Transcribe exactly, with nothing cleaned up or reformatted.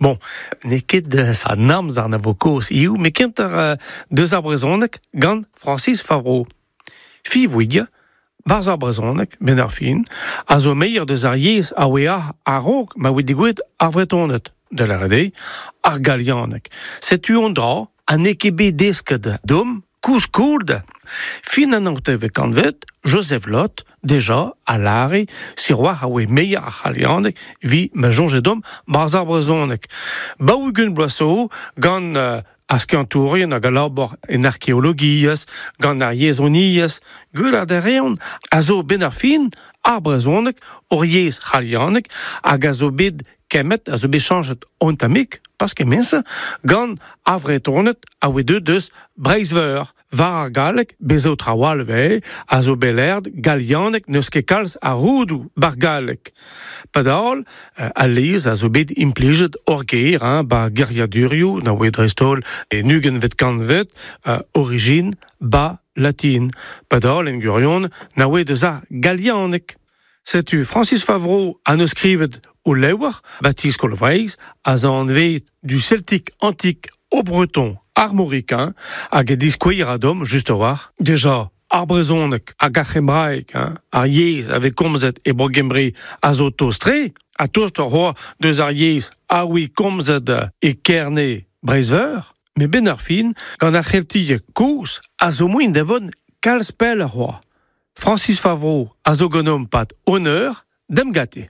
Bon, n'eo ket deus an amzer na vo kaoz hiziv, met kentoc'h deus ar brezhoneg gant Francis Favereau. Fiv barzh ar brezhoneg, ben ar fin, a zo meier deus ar yezh a oe a-raok ma oe degouezhet ar Vretoned, da lâret eo, ar galianeg. Setu un dra ha n'eo ket bet desket deomp koulskoude. Fin an naontekvet kantved, Joseph Loth, deja, a lâre, sur-walc'h a oe meier ar c'halianeg evit ma soñje deomp barzh ar brezhoneg. Daou-ugent bloaz zo gant euh, ar skiantourien hag a labour en arkeologiezh, gant ar yezhoniezh, gwelet a reont a zo ben ar fin ar brezhoneg ur yezh c'halianeg hag a zo bet kemmet, a zo bet chañchet un tammig, pas kement-se, gant ar Vretoned a oe deuet deus Breizh-Veur. War ar galleg, bez zo traoù all 'vez, a zo bet lâret galianeg n'eus ket kalz a roudoù bar galleg. Padal, al lez a zo bet implijet ur ger, hein, ba geriadurioù, na oe dreist-holl en ugentvet kantved, uh, origine ba latin. Padal, en gwirionez, na oe deus ar galianeg. Setu Francis Favereau a neus skrivet ul levr, ba ti Skol Vreizh, a zo anvet du celtique antique au breton armoricain, hag e diskouer a deomp, just a-walc'h, deja ar brezhoneg hag ar c'hembraeg, hein, ar yezh a vez komzet e Bro-Gembre a zo tost-tre, ha tost c'hoazh deus ar yezh a oe komzet e Kerne Breizh-Veur, met ben ar fin, gant ar c'heltieg kozh a zo moaien da vont kalz pelloc'h c'hoazh. Francis Favereau a zo ganeomp 'pad un eur, demp gante.